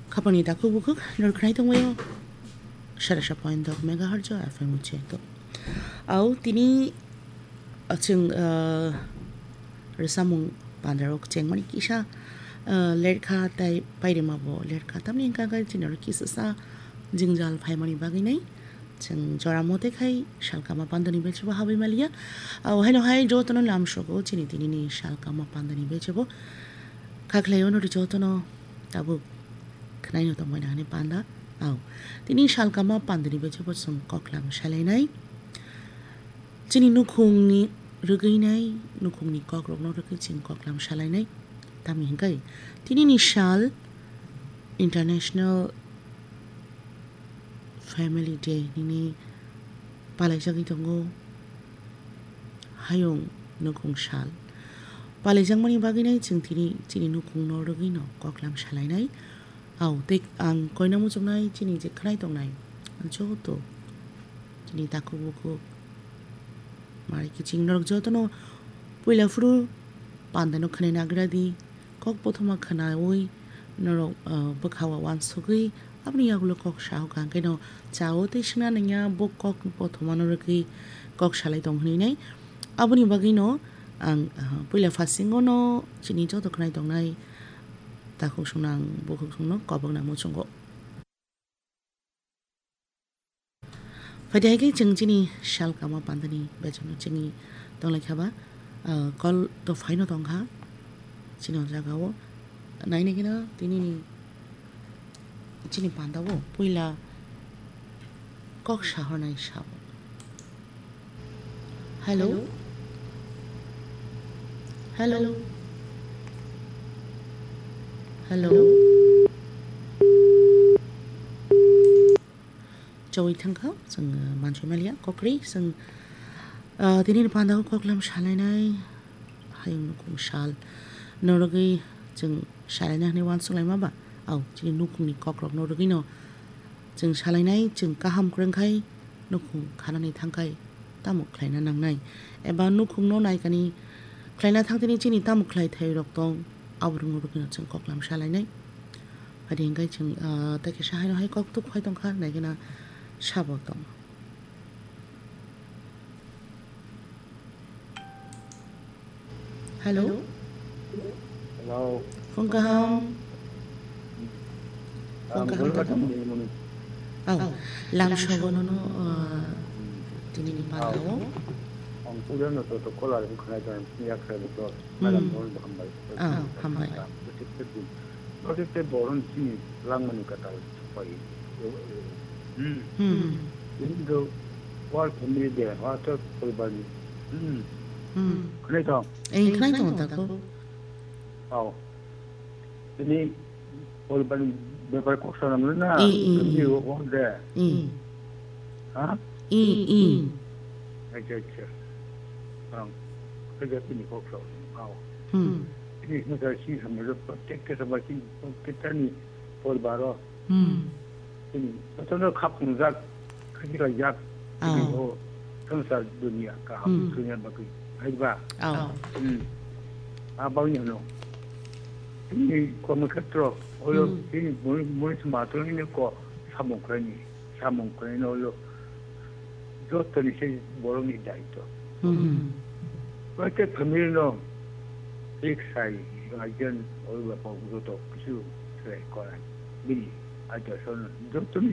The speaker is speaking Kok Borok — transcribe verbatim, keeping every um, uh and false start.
Khapangni takhuk bukhuk norok khnai tongbaio. Sara sa point dok megahertz o F M uche to. Au tini, ah, chwng, ah, rwchapmung pandarok chengmani kisa, ah, lerkha tai pairima bo lerkha. Tamni hwnkha khe chini oro kisa sa jwngjal phaimani bagwi nai. Chwng jora mote khai salkama pandani bechebo habwi maliya. Au haino hai jotono lamsogo chini tinini salkama pandani bechebo. Khaklai ono ri jotono tabuk khnaino tongbaina hwnwi panda. Au tini salkama pandani bechebo chwng koklam salainai. Chini nukhungni rwgwinai, nukhungni kokrokno rwgwi chwng koklam salainai. Tamni hwnkhe tinini sal International Family Day nini palaijagwi tongo. Hayung nukhung sal palaijakmani bagwinai chwng tini chini nukhungno rwgwino koklam salainai. Au tei ang koina muchungnai chini je khnai tongnai joto chini takhuk bukhuk mari kiching norok jotono puila phuru pandano khnai nagra di. Kok bothoma khnaui norok, ah, bwkha o uansugui aboni yagulo kok sahokha, hwnkhe no chao tei swngna nangya bo kok bothomano rwgwi kok salai tong hwnwi nai. Aboni bagwino ang, ah, puila phasingo no chini joto khnai tongnai takhuk songno ang bukhuk songno kobokna muchungo. Phaidi hai khe chwng chini salkama pandani bechano chini tonglaikha ba, ah, call to phaino tongkha chini o jagao. Nainai kheno tinini chini pandao puila kok sahornai sabo. Hello? Hello? Hello? Chawi thangkha, chwng, uh, mansoi maliya, kokri, chwng, uh, tini ni pandao koklam salainai, hayung nukhung sal, norogwi chwng salaina hwnwi uansuk laima ba, au, chini nukhungni kokrokno rwgwino chwng salainai, chwng kaham kwrwngkhai nukhung khanani thangkhai tamo khlaina nangnai, eba nukhungno naikani khlaina thangtini chini tamo khlai thai rok tong, aborokno rwgwino chwng koklam salainai. Phaidi hwnkhe chwng, ah, tei kaisa haino hai koktuk phai tongkha, naikhe na sabo tong. Hello? Hello? Phone kaham? Phone kaham tamo? Ang bwrwi kaham. Aw, lamsogo nono, ah, tinini pandao. Ang puila no to, to kolar bwkhanai tong, yaksa bwkha. Hmm. Madam, phone hambai. Ah, hambai. Protected din. Protected borok ni simi langmani kwtal pai. Hmm. Hmm. Ini do wal family de, ha to poribar ni. Hmm. Hmm. Khnai tong. Eh, khnai tong ta ko. Aw. Ini poribar ni bepar kok sanam na. Eh, eh, ini eh. Wo de. Eh. Ha? Eh, eh. Acha, acha. Ang. Kaja ini kok sa. Aw. Hmm. Ini na si sama jo protect ke sama si protect ni poribar o. Hmm. Chini jotono khapung jak, khaji khaijak, ah, chini o swngchar dunia kaham, hmm, swngya bagwi, hai ba? Ah. Hmm. A bagwi hwno. Chini kormo khetro, olo, hmm, chini mui, mui sma tongni ko samung khlaini, samung khlaini olo. Jotoni se borokni daitw. Hmm. Protect family no fix sai, guardian, oi bapa joto kisu se korai. Bini, aita son, jotoni